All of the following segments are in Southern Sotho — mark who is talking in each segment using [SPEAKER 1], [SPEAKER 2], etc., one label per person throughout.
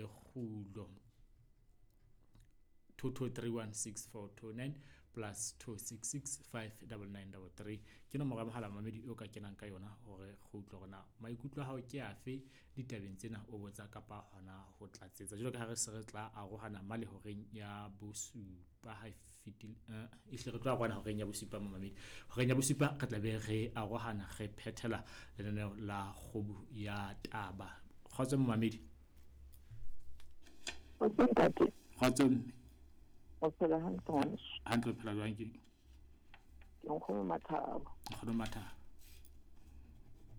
[SPEAKER 1] Lekgulo. 22316429 plus 266 59933 ke nomoro ya mohala, mamedi, o ka kenang ka yona hore re utlwe hore na maikutlo a hao ke afe ditabeng tsena, o botsa kapa hona ho tlatsetsa, jwalo ka ha re se re tla arohana male horeng ya bosupa. Ha e fetile, ehlile re tlo arohana horeng ya bosupa, momamedi. Horeng ya bosupa re tla be re arohana, re phethela lenaneo la Kgobu ya Taba. Kgotso, momamedi.
[SPEAKER 2] Kgotso, ntate.
[SPEAKER 1] Kgotso, mme.
[SPEAKER 2] O phela hantle, ngwaneso?
[SPEAKER 1] Hantle, o phela jwang ke?
[SPEAKER 2] Ke Nkgono Mathabo.
[SPEAKER 1] Nkgono Mathabo.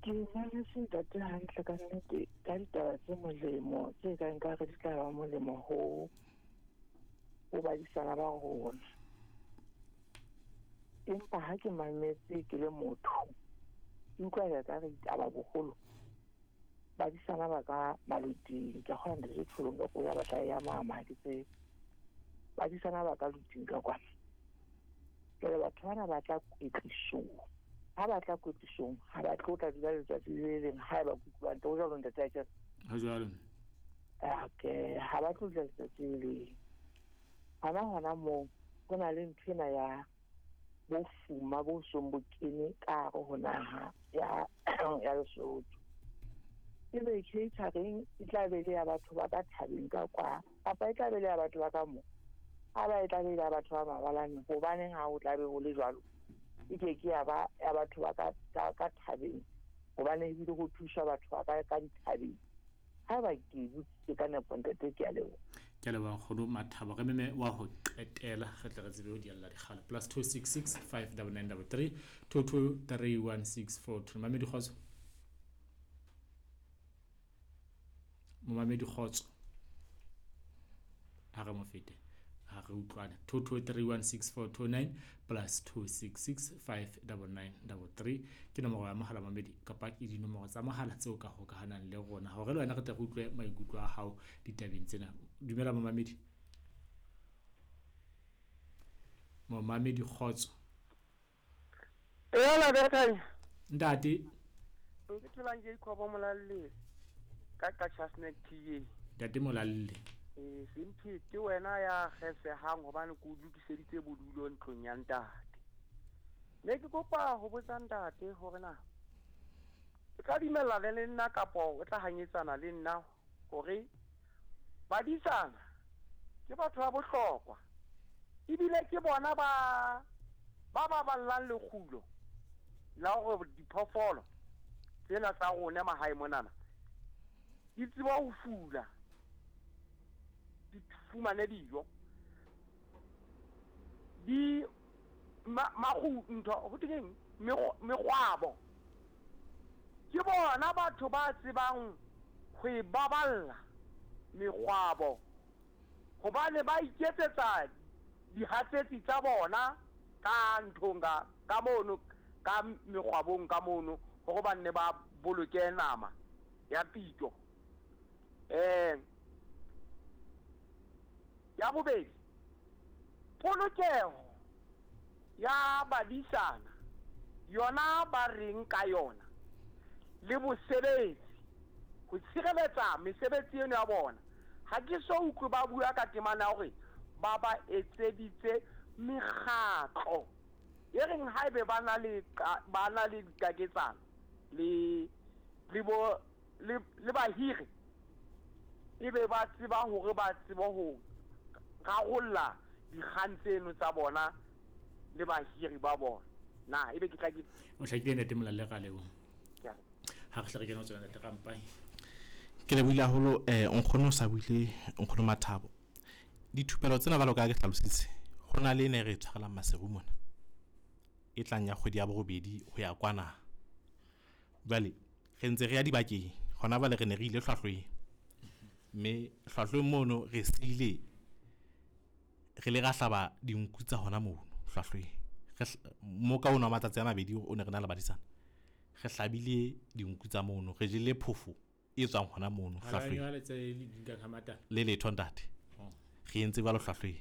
[SPEAKER 2] Ke mametse ntate hantle ka nnete, ka ditaba tse molemo tse kang ka re di tla ba molemo ho badisana ba rona. Empa ha ke mametse ke le motho, ke utlwa ya ka re ditaba boholo badisana ba ka maluting. Ke kgona, ntate Tholong, ka ya batla ya mama ke tse badisana ba ka luting ka kwana. Jwale batho bana ba tla kwetlisong, ha ba tla kwetlisong, ha ba tlo tla dula letsatsi le leng. Ha eba kutlwang ho jwalo, ntate, akere?
[SPEAKER 1] Ha jwalo.
[SPEAKER 2] Okay, ha ba tlo dula letsatsi le leng. Hona moo ho na le ntho ena ya bofuma bo song bo kene ka hare ho naha ya Lesotho. Ebe catering e tla be le ya batho ba ka thabeng ka kwa, kapa e tla be le ya batho ba ka mo? Ha ba e tla be le ya batho ba mabalane, hobaneng ha ho tla be ho le jwalo? E ke ke ya ba ya batho ba ka thabeng, hobane ebile ho thusa batho ba ka dithabeng. Ha ba ke botsitse ka nepo, ntate, ke a leboha.
[SPEAKER 1] Ke a leboha, Nkgono Mathabo. Re meme wa ho qetela, re tle re tsebe ho dialla dikgalo. +266 59933 2231642. Mamedi, kgotso. Momamedi, kgotso. Ha re mo fete, ha re utlwane. 22316429 plus 266 59933 ke nomoro ya mohala, mamedi, kapa ke dinomoro tsa mohala tseo ka hokahanang le rona hore le wena re tle re utlwe maikutlo a hao ditabeng tsena. Dumela, momamedi. Momamedi, kgotso.
[SPEAKER 3] Ela Berkane.
[SPEAKER 1] Ntate.
[SPEAKER 3] Ke tholang Jacob Molalle ka Chasnek TA.
[SPEAKER 1] Ntate Molalle.
[SPEAKER 3] Eh, Semphete, wena ya kgesehang hobane ke o lokiseditse bodulo ntlong ya ntate. Ne ke kopa ho botsa ntate hore na o tla dumellana le nna kapo o tla hanyetsana le nna hore badisana ke batho ba bohlokwa, ebile ke bona ba baballang lekgulo la hore diphoofolo tsena tsa rona mahae monana di tseba ho fula, di fumane dijo, di makgu ntho ho thweng mekgwabo. Ke bona batho ba tsebang ho e baballa mekgwabo, hobane ba iketsetsa dihatsetsi tsa bona ka nthong ka mono, ka mekgwabong ka mono, hore ba nne ba boloke nama ya pitso. Ya bobedi, polokeho ya badisana yona ba reng ka yona, le bosebetsi, ho tshireletsa mesebetsi eno ya bona? Ha ke so utlwe ba bua ka temana ya hore ba etseditse mekgatlo e reng haebe ba na le dikaketsano le bahiri, ebe ba tseba hore ba tsebe ho rarolla dikgang tseno tsa bona le bahiri ba bona. Na ebe ke tla ke
[SPEAKER 1] O hlakile, ntate Molalle, ra leboha.
[SPEAKER 3] Ke a
[SPEAKER 1] Ha re hle re kena ho tsona, ntate Rampai.
[SPEAKER 4] Ke lebohile haholo. Nkgono o sa buile, Nkgono Mathabo. Dithupelo tsena, jwalo ka ha ke hlalositse, ho na le e ne re e tshwarelang Maseru mona, e tlang ya kgwedi ya borobedi ho ya kwana. Jwale re ntse re ya dibakeng. Hona jwale re ne re ile Hlwahlweng, mme Hlwahlweng mono re siile re le ra hlaba dinku tsa hona mono Hlwahlweng. Mo ka ono wa matsatsi a mabedi o ne re na le badisana, re hlabile dinku tsa mono, re jele phofo e tswang hona mono Hlwahlweng.
[SPEAKER 1] Jwale tse di nkang ha matala.
[SPEAKER 4] Le letho, ntate. Re entse jwalo Hlwahlweng.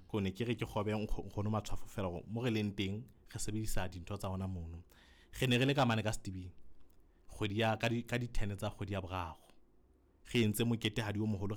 [SPEAKER 4] Ko ne ke re ke kgobe Nkgono Matshwafo fela hore mo re leng teng re sebedisa dintho tsa hona mono. Re ne re le ka mane ka Setibing kgwedi ya ka di 10 tsa kgwedi ya boraro, re entse mokete hadi o moholo.